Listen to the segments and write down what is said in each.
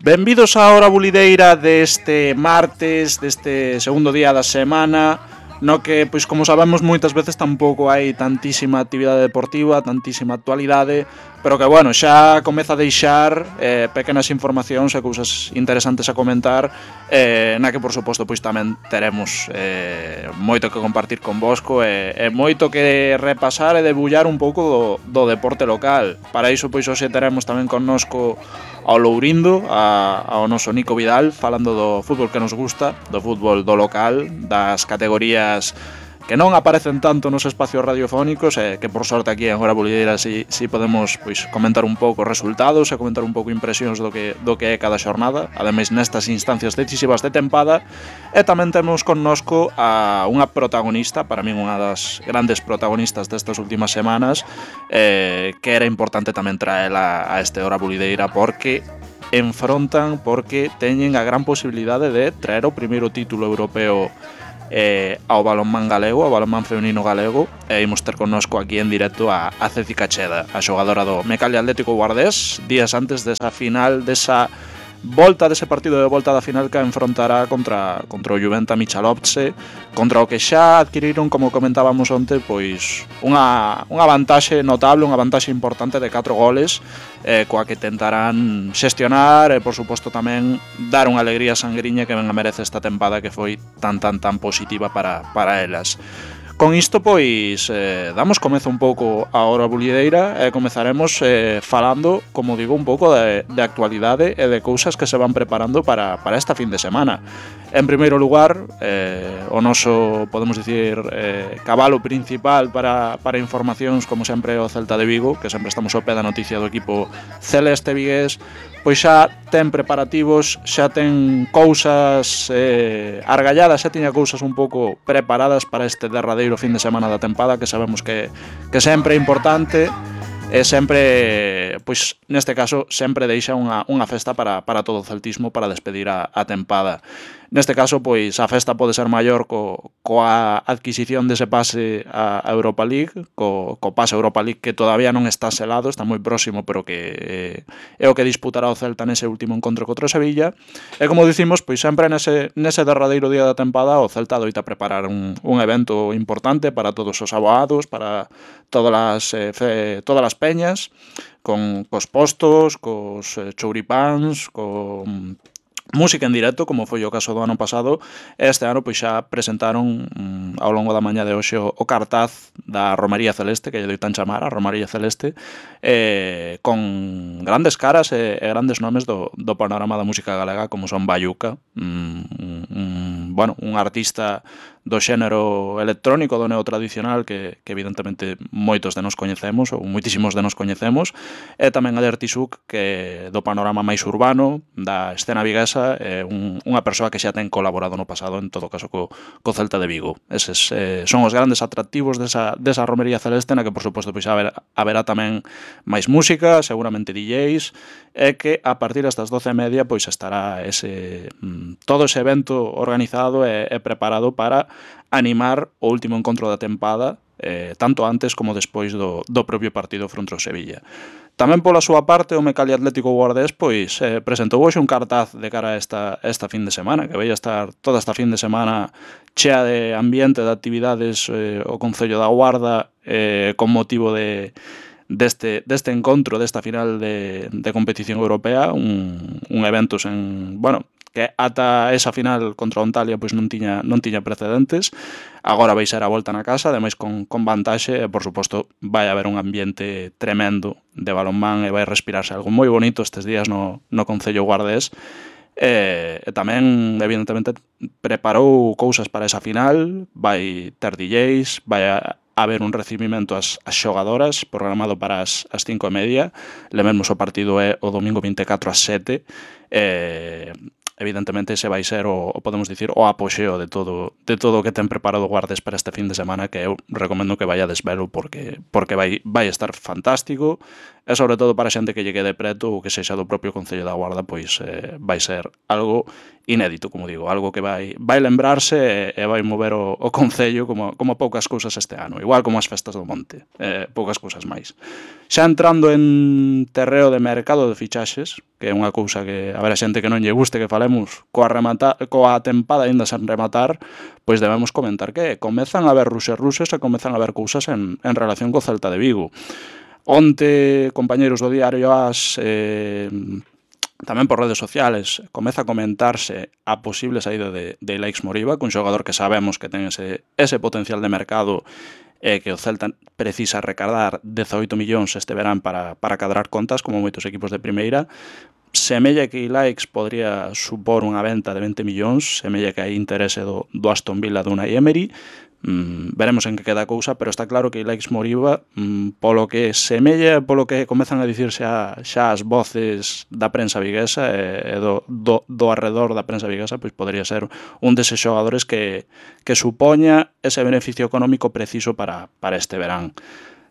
Benvidos á hora bulideira deste martes, deste segundo día da semana, no que, pois como sabemos, moitas veces tampouco hai tantísima actividade deportiva, tantísima actualidade, pero que, bueno, xa comeza a deixar pequenas informacións e cousas interesantes a comentar, na que, por suposto, pois tamén teremos moito que compartir convosco e moito que repasar e debullar un pouco do deporte local. Para iso, pois, hoxe teremos tamén connosco ao Lourindo, ao noso Nico Vidal, falando do fútbol que nos gusta, do fútbol do local, das categorías que non aparecen tanto nos espacios radiofónicos e que por sorte aquí en Hora Bulideira si podemos pois comentar un pouco resultados e comentar un pouco impresións do que é cada xornada, ademais nestas instancias decisivas de tempada. E tamén temos connosco a unha protagonista, para min unha das grandes protagonistas destas últimas semanas, que era importante tamén traela a este Hora Bulideira porque teñen a gran posibilidade de traer o primeiro título europeo ao balonmán galego, ao balonmán feminino galego, e imos ter connosco aquí en directo a Ceci Cacheda, a xogadora do Mecalia Atlético Guardés, días antes desa final, dese partido de volta da final que enfrontará contra o Juventa Michalovce, contra o que xa adquiriron, como comentábamos onte, pois unha vantaxe notable, unha vantaxe importante de 4 goles, coa que tentarán xestionar e, por suposto, tamén dar unha alegría sangriña que ben a merece esta tempada que foi tan positiva para elas. Con isto, pois, damos comezo un pouco a hora bulideira e comezaremos falando, como digo, un pouco de actualidade e de cousas que se van preparando para esta fin de semana. En primeiro lugar, o noso, podemos dicir, cabalo principal para informacións, como sempre, o Celta de Vigo, que sempre estamos ao pé da noticia do equipo celeste vigués, pois xa ten preparativos, xa ten cousas argalladas, xa tiña cousas un pouco preparadas para este derradeiro fin de semana da tempada, que sabemos que sempre é importante e sempre, pois neste caso, sempre deixa unha festa para todo o celtismo para despedir a tempada. Neste caso, pois a festa pode ser maior coa adquisición dese pase a Europa League, co pase a Europa League que todavía non está selado, está moi próximo, pero que é o que disputará o Celta nese último encontro contra o Sevilla. E como dicimos, pois sempre nese derradeiro día da tempada o Celta doita preparar un evento importante para todos os aboados, para todas as peñas, cos postos, cos chouripáns, con música en directo, como foi o caso do ano pasado. Este ano pois xa presentaron ao longo da mañá de hoxe o cartaz da Romaría Celeste, que lle doitan chamar a Romaría Celeste, con grandes caras e grandes nomes do panorama da música galega, como son Bayuca, un artista do xénero electrónico, do neotradicional, que evidentemente moitos de nos coñecemos, ou moitísimos de nos coñecemos, e tamén a Dirty Souk, que do panorama máis urbano, da escena viguesa, unha persoa que xa ten colaborado no pasado, en todo caso, co Celta de Vigo. Eses son os grandes atractivos desa Romería Celeste, na que, por suposto, pois haberá tamén máis música, seguramente DJs, e que a partir das 12:30 pois estará todo ese evento organizado e preparado para animar o último encontro da tempada, tanto antes como despois do propio partido fronte ao Sevilla. Tamén pola súa parte o Mecalia Atlético Guardés pois presentou hoxe un cartaz de cara a esta fin de semana, que vai estar toda esta fin de semana chea de ambiente, de actividades, o Concello da Guarda, con motivo deste encontro, desta final de competición europea, un evento que ata esa final contra o Antalya pois non tiña precedentes. Agora vai ser a volta na casa, ademais con vantaxe, e por suposto vai haber un ambiente tremendo de balonmán e vai respirarse algo moi bonito estes días no Concello Guardés. E tamén, evidentemente, preparou cousas para esa final, vai ter DJs, vai haber un recibimento ás xogadoras programado para as 5:30. Lememos o partido é o domingo 24 ás 7. Evidentemente ese vai ser podemos dicir, o apoxeo de todo o que ten preparado Guardes para este fin de semana, que eu recomendo que vaya desvelo porque vai estar fantástico, e sobre todo para a xente que lle quede preto ou que sexa do propio Concello da Guarda, pois vai ser algo inédito, como digo, algo que vai lembrarse e vai mover o Concello como poucas cousas este ano, igual como as festas do Monte, poucas cousas máis. Xa entrando en terreo de mercado de fichaxes, que é unha cousa que a ver a xente que non lle guste que falemos coa tempada aínda sen rematar, pois debemos comentar que comezan a haber ruses e comezan a haber cousas en relación co Celta de Vigo. Onte, compañeiros do Diario AS, tamén por redes sociales, comeza a comentarse a posible saída de Ilaix Moriba, que un xogador que sabemos que ten ese potencial de mercado que o Celta precisa recadar 18 millóns este verán para cadrar contas, como moitos equipos de primeira. Semella que Ilaix podría supor unha venta de 20 millóns, semella que hai interese do Aston Villa do Unai Emery. Veremos en que queda a cousa, pero está claro que Ilaix Moriba, polo que semella, polo que comezan a dicirse xa as voces da prensa viguesa e do arredor da prensa viguesa, pois podría ser un deses xogadores que supoña ese beneficio económico preciso para este verán.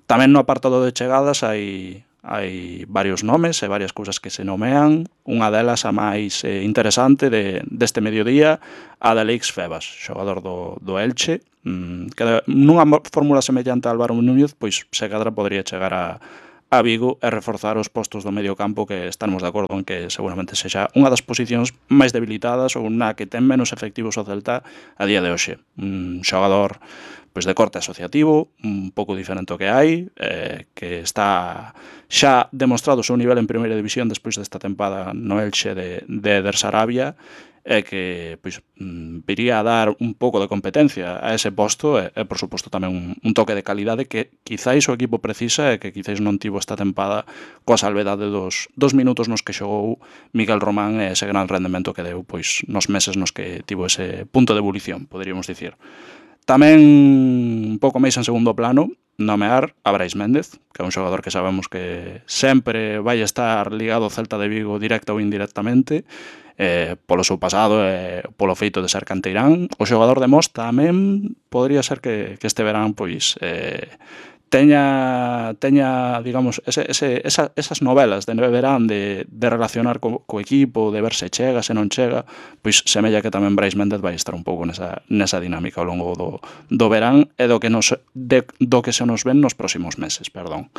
Tamén no apartado de chegadas hai varios nomes e varias cousas que se nomean. Unha delas, a máis interesante deste mediodía, a de Alex Febas, xogador do Elche, que nunha fórmula semellante a Álvaro Núñez, pois se cadra podría chegar a Vigo e reforzar os postos do medio campo, que estamos de acordo en que seguramente sexa unha das posicións máis debilitadas ou na que ten menos efectivos o Celta a día de hoxe. Un xogador pois de corte asociativo, un pouco diferente ao que hai, que está xa demostrado o seu nivel en primeira división despois desta tempada no Elche de Eder Sarabia, e que pois viría a dar un pouco de competencia a ese posto e por suposto tamén un toque de calidade que quizáis o equipo precisa e que quizáis non tivo esta tempada coa salvedade dos minutos nos que xogou Miguel Román e ese gran rendemento que deu pois nos meses nos que tivo ese punto de ebulición, poderíamos dicir. Tamén un pouco máis en segundo plano, nomear a Brais Méndez, que é un xogador que sabemos que sempre vai estar ligado ao Celta de Vigo directa ou indirectamente, polo seu pasado e polo feito de ser canteirán. O xogador de Mos tamén podría ser que este verán pois teña digamos, esas novelas de verán de relacionar co equipo, de ver se chega, se non chega, pois semella que tamén Brais Méndez vai estar un pouco nesa dinámica ao longo do verán e do que se nos ven nos próximos meses, perdón.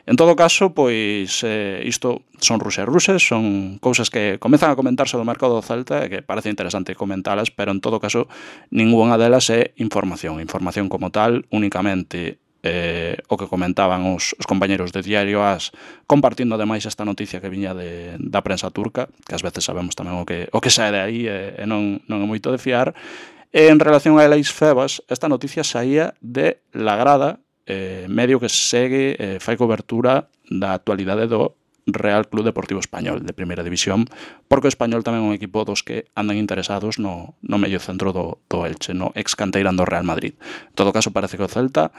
En todo caso, pois isto son ruses, son cousas que comezan a comentarse do mercado do Celta e que parece interesante comentalas, pero en todo caso ningunha delas é información como tal, únicamente o que comentaban os compañeros de Diario AS, compartindo ademais esta noticia que viña da prensa turca, que ás veces sabemos tamén o que sae de aí e non é moito de fiar. E en relación a Alex Febas, esta noticia saía de La Grada, medio que segue, fai cobertura da actualidade do Real Club Deportivo Español de primeira división, porque o Español tamén é un equipo dos que andan interesados no medio centro do Elche, no ex canteirán do Real Madrid. En todo caso, parece que o Celta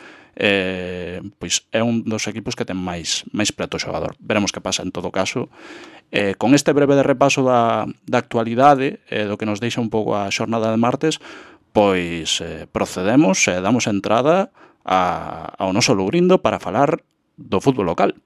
pois é un dos equipos que ten máis preto o xogador. Veremos que pasa en todo caso. Con este breve de repaso da actualidade, do que nos deixa un pouco a xornada de martes, pois procedemos e damos entrada ao noso Lourindo para falar do fútbol local.